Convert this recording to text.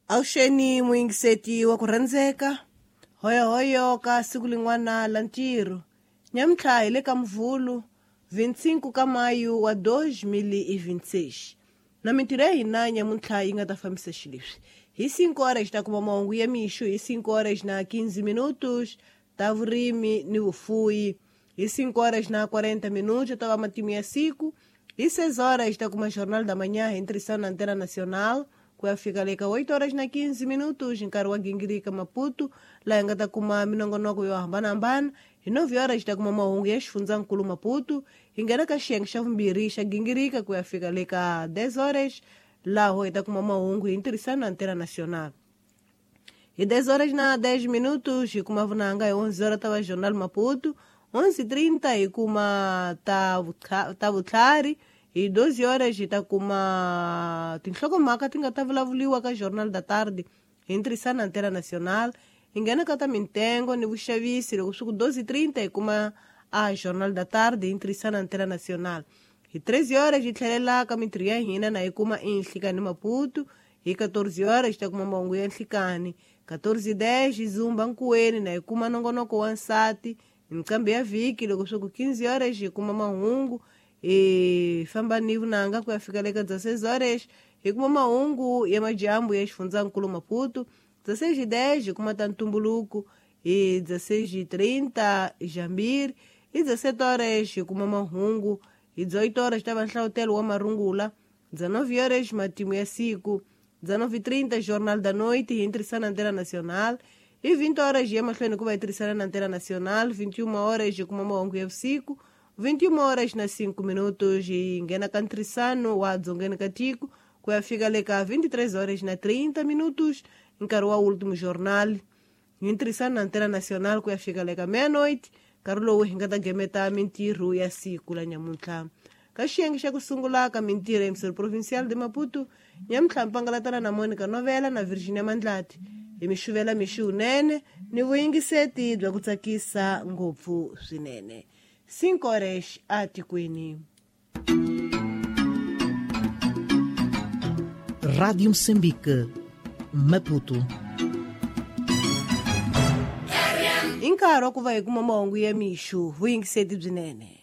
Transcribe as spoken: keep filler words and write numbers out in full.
Avuxeni muyingiseti wa ku rhandzeka hoyohoyo ka siku lin'wana la ntirho nyamuntlha hi le ka muvhulu vinte e cinco ka maio wa dois mil e vinte e seis na mintirho ya hina nyamuntlha yi nga ta fambisa xileswi: hi cinco horas ta kuma mahungu ya mixo, hi cinco horas na quinze minutos ta vurimi ni vufuyi, hi cinco horas na quarenta minutos ta va matimu ya siku, hi seis horas ta kuma Jornal da Manhã hi ntirhisano na Antena Nacional ku ya fika le ka oito horas na quinze minutos, nkarhi wa gingirika Maputo laha hi nga ta kuma minongonoko yo hambanahambana. Hi nove horas ta kuma mahungu ya xifundzankulu Maputo, hi nghena ka xiyenge xa vumbirhi xa gingirika ku ya fika le ka dez horas, laho hi ta kuma mahungu hi ntirhisano na Antena Nacional. Hi dez horas na dez minutos hi kuma vunanga, hi onze horas ta va Jornal Maputo, onze e trinta hi kuma ta ta vutlhari, hi doze horas hi ta kuma tinhlokomhaka ti nga ta vulavuriwa ka Jornal da Tarde hi ntirhisano na Antena Nacional. Hi nghena ka ta mintengo ni vuxavisi loko swi ku doze e trinta hi kuma a Jornal da Tarde hi ntirhisano na Antena Nacional. Hi treze horas hi tlhelela ka mintirho ya hina na hi kuma inhlikani Maputo, hi catorze horas hi ta kuma mahungu ya nhlikani, catorze e dez hi zumba nkuweni na hi kuma nongonoko wa nsati nqambi ya vhiki. Loko swi ku quinze horas hi kuma mahungu, hi famba ni vunanga ku ya fika le ka dezesseis horas, hi kuma mahungu ya madyambu ya xifundzankulu Maputo, dezesseis e dez hi kuma ta ntumbuluko, hi dezesseis e trinta jambiri, hi dezessete horas hi kuma mahungu, hi dezoito horas ta va nhlavutelo wa marungula, dezenove horas matimu ya siku, dezenove e trinta Jornal da Noite hi ntirhisano na Antena Nacional, hi vinte horas hi ya mahlweni ku va hi tirhisana na Antena Nacional, vinte e uma horas hi kuma mahungu ya vusiku, vinte e uma horas na cinco minutos hi nghena ka ntirhisano wa dzongeni ka tiko ku ya fika le ka vinte e três horas na trinta minutos, nkarhi wa Último Jornal hi ntirhisano na Antena Nacional ku ya fika le ka meia-noite, nkarhi lowu hi nga ta gemeta mintirho ya siku la nyamuntlha. Ka xiyenge xa ku sungula ka mintirho emissora provincial de Maputo nyamuntlha, mpangalatana na Monica Novela na Virginia Mandlati hi mi xuvela mixi wunene ni vuyingiseti bya ku tsakisa ngopfu swinene. Cinco horas atikweni. Rádio Moçambique, Maputo. I nkarhi wa ku va hi kuma mahungu ya mixo, vuyingiseti byinene.